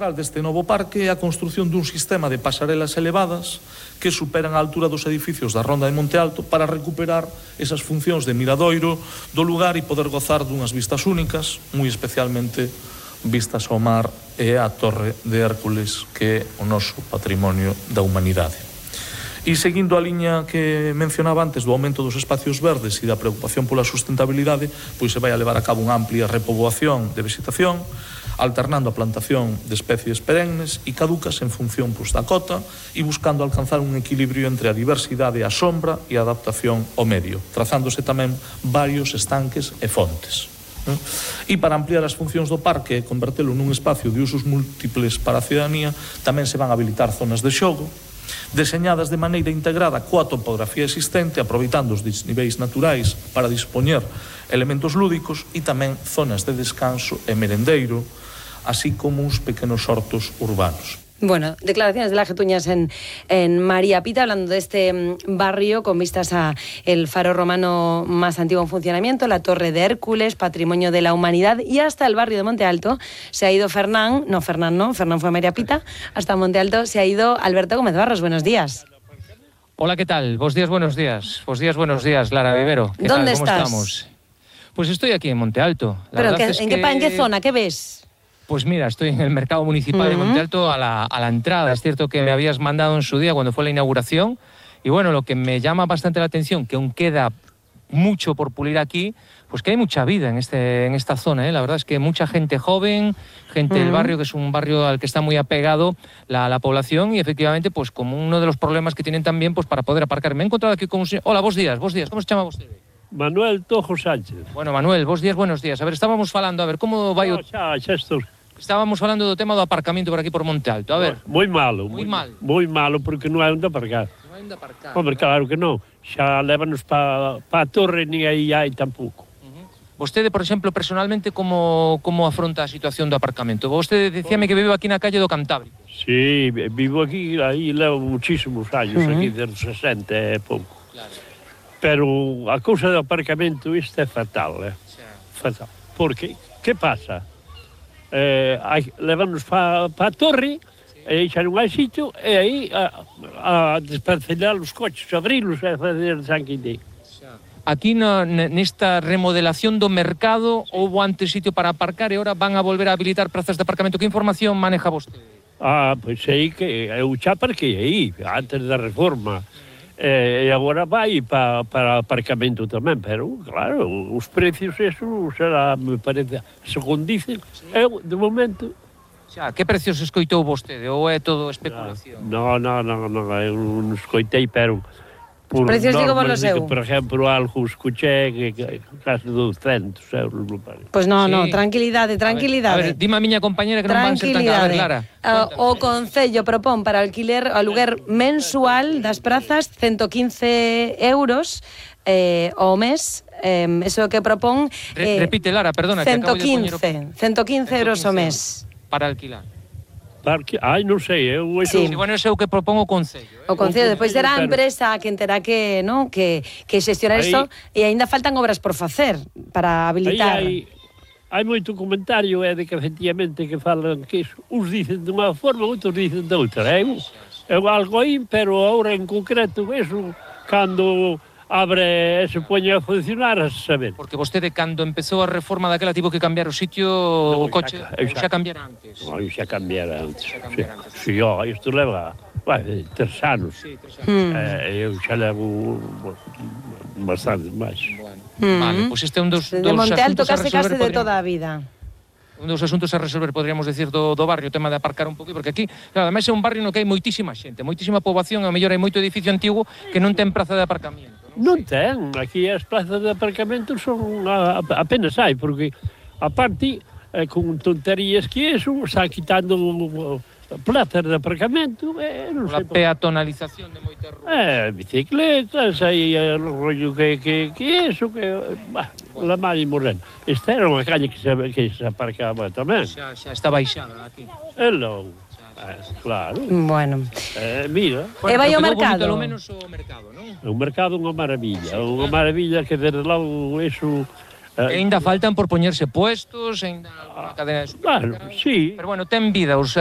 Deste novo parque é a construción dun sistema de pasarelas elevadas que superan a altura dos edificios da Ronda de Monte Alto para recuperar esas funcións de miradoiro do lugar e poder gozar dunhas vistas únicas, moi especialmente vistas ao mar e á Torre de Hércules, que é o noso patrimonio da humanidade. E seguindo a liña que mencionaba antes do aumento dos espacios verdes e da preocupación pola sustentabilidade, pois se vai a levar a cabo unha amplia repoboación de vegetación, alternando a plantación de especies perennes e caducas en función da cota e buscando alcanzar un equilibrio entre a diversidade, a sombra e a adaptación ao medio, trazándose tamén varios estanques e fontes. E para ampliar as funcións do parque e convertelo nun espacio de usos múltiples para a cidadanía, tamén se van habilitar zonas de xogo, deseñadas de maneira integrada coa topografía existente, aproveitando os desniveis naturais para dispoñer elementos lúdicos e tamén zonas de descanso e merendeiro, así como uns pequenos hortos urbanos. Bueno, declaraciones de la Getuñas en María Pita, hablando de este barrio con vistas a el faro romano más antiguo en funcionamiento, la Torre de Hércules, patrimonio de la humanidad, y hasta el barrio de Monte Alto se ha ido Fernán fue a María Pita, hasta Monte Alto se ha ido Alberto Gómez Barros. Buenos días. Hola, ¿qué tal? Buenos días. Buenos días, Lara Vivero. ¿Qué ¿Dónde tal? ¿Cómo estás? estamos? Pues estoy aquí en Monte Alto. ¿Pero en qué zona? ¿Qué ves? Pues mira, estoy en el mercado municipal de Monte Alto a la entrada. Es cierto que me habías mandado en su día cuando fue la inauguración. Y bueno, lo que me llama bastante la atención, que aún queda mucho por pulir aquí, pues que hay mucha vida en esta zona, ¿eh? La verdad es que mucha gente joven, gente del barrio, que es un barrio al que está muy apegado la población, y efectivamente, pues como uno de los problemas que tienen también, pues para poder aparcar. Me he encontrado aquí con un señor. Hola, buenos días. ¿Cómo se llama usted? Manuel Tojo Sánchez. Bueno, Manuel, buenos días. A ver, estábamos falando, a ver, como vai o... Xa estou. Estábamos falando do tema do aparcamento por aquí por Monte Alto. A ver. Moi malo. Moi mal. Moi malo porque non hai onde aparcar. Non hai onde aparcar. Hombre, claro que non. Xa lévanos pa a torre, ni aí hai tampouco. Vostede, por exemplo, personalmente, como afronta a situación do aparcamento? Vostede decíame que vive aquí na calle do Cantábrico. Sí, vivo aquí, aí levo muchísimos años, aquí desde 60 e pouco. Claro. Pero a cousa do aparcamento, isto é fatal, fatal. Porque, que pasa? Levanos pa a torre, e xa non hai sitio, e aí a desparcelar os coches, abrilos e fazer sanguindei. Aquí nesta remodelación do mercado houve antes sitio para aparcar e agora van a volver a habilitar prazas de aparcamento. Que información maneja vostede? Pois aí que eu xa aparquei aí, antes da reforma. E agora vai para aparcamento tamén, pero claro, os precios eso será, me parece, según dicen, eu de momento. Xa, que precios escoitou vostede ou é todo especulación? Non, eu non escoitei, pero por precios digo vos lo seu. Por exemplo, algo escuché que case 200 euros, me parece. Pues no, tranquilidade. A ver, dime a miña compañera que non van ser tan caras. A ver, Lara. O Concello propón para aluguer mensual das prazas 115 euros ao mes. Eso que propón... Repite, Lara, perdona. 115 euros ao mes. Para alquilar. Non sei, eu... Sí. Bueno, ese é o que propón o Concello. O Concello, despois será a empresa quen terá que xestionar isto, e aínda faltan obras por facer para habilitar. Hai moito comentario de que efectivamente que falan que uns dicen de unha forma, outros dicen de outra. Eu algo aí, pero agora en concreto eso, cando abre e se poñe a funcionar, a saber. Porque vostede, cando empezou a reforma daquela, tivo que cambiar o sitio, o coche, xa cambiara antes. Non, xa cambiara antes. Si, isto leva 3 anos. Eu xa levo bastante máis. Vale, pois este é un dos de Monte Alto case de toda a vida. Un dos asuntos a resolver, podríamos decir, do barrio, o tema de aparcar un poquito, porque aquí, claro, además é un barrio no que hai moitísima xente, moitísima poboación, a mellor hai moito edificio antigo que non ten praza de aparcamento. Non ten, aquí as plazas de aparcamento son apenas hai, porque aparte, con tonterías que eso, está quitando plazas de aparcamento, non sei. A peatonalización de moitas ruas. Bicicletas, aí o rollo que eso, que... la mar e morena. Esta era unha calle que se aparcaba tamén. Xa está baixada aquí. Claro. Bueno. Mira. E vai ao mercado? Polo menos o mercado, non? O mercado é unha maravilla. Unha maravilla que desde logo eso... Ainda faltan por poñerse puestos, ainda unha cadena de supermercados. Claro, sí. Pero bueno, ten vida, os